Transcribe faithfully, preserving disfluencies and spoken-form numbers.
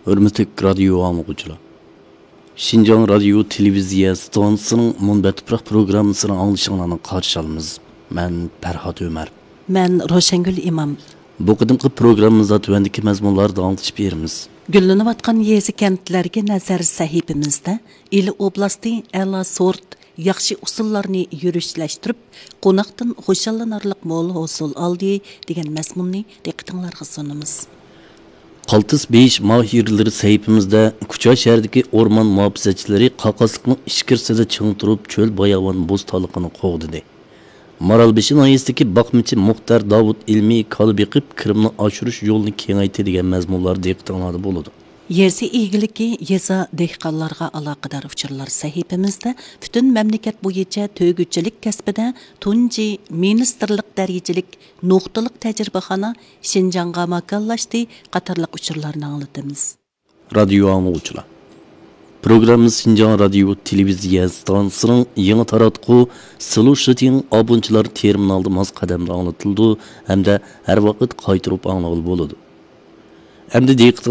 ھۆرمەتلىك رادىيو ئاڭلىغۇچىلار! شىنجاڭ رادىيو تېلېۋىزىيە ئىستانسىسىنىڭ مۇنبەت تۇپراق پروگراممىسىنى ئاڭلىشىڭلارنى قارشى ئالىمىز. مەن پەرھات ئۆمەر. مەن روشەنگۈل ئىمام. بۇ قېتىمقى پروگراممىمىزدا تۆۋەندىكى مەزمۇنلاردا ئاڭلىتىش بېرىمىز. گۈللىنىۋاتقان يېزا-كەنتلەرگە نەزەر سەھىپىمىزدە ئىلى ئوبلاستى ئەلا سورت ياخشى ئۇسۇللارنى يۈرۈشلەشتۈرۈپ، قوناقتىن خۇشاللىنارلىق مول ھوسۇل ئالدى دېگەن مەزمۇننى دىققىتىڭلارغا سۇنىمىز. قالتىس بېيىش ماھىرلىرى سەھىپىمىزدە كۇچا شەھىرىدىكى ئورمان مۇھاپىزەتچىلىرى قاقاسلىقنىڭ ئىچكىرىسىدە چىڭ تۇرۇپ، چۆل باياۋان بوستانلىقىنى قوغدىدى. مارالبېشى ناھىيەسىدىكى باقمىچى مۇختەر داۋۇت ئىلمىي كالا بېقىپ، كىرىمنى ئاشۇرۇش يولىنى كېڭەيتتى دېگەن مەزمۇنلار دىققىتىڭلاردا بولىدۇ. يېزا ئىگىلىكى، يېزا، دېھقانلارغا ئالاقىدار ئۇچۇرلار سەھىپىمىزدە پۈتۈن مەملىكەت بويىچە تۆگىچىلىك كەسپىدە تۇنجى مىنىستىرلىق دەرىجىلىك نۇقتىلىق تەجرىبىخانا شىنجاڭغا ماكانلاشتى قاتارلىق ئۇچۇرلارنى ئاڭلىتىمىز. رادىيو ئاڭلىغۇچىلار! پروگراممىمىز شىنجاڭ رادىيو تېلېۋىزىيە ئىستانسىسىنىڭ يېڭى تاراتقۇ سىلۇشىتىڭ ئابۇنىچىلار تېرمىنالىدا ماس قەدەمدە ئاڭلىتىلىدۇ ھەمدە ھەر ۋاقىت قايتۇرۇپ ئاڭلىغىلى بولىدۇ. ئەمدى دىققىتىڭىزگە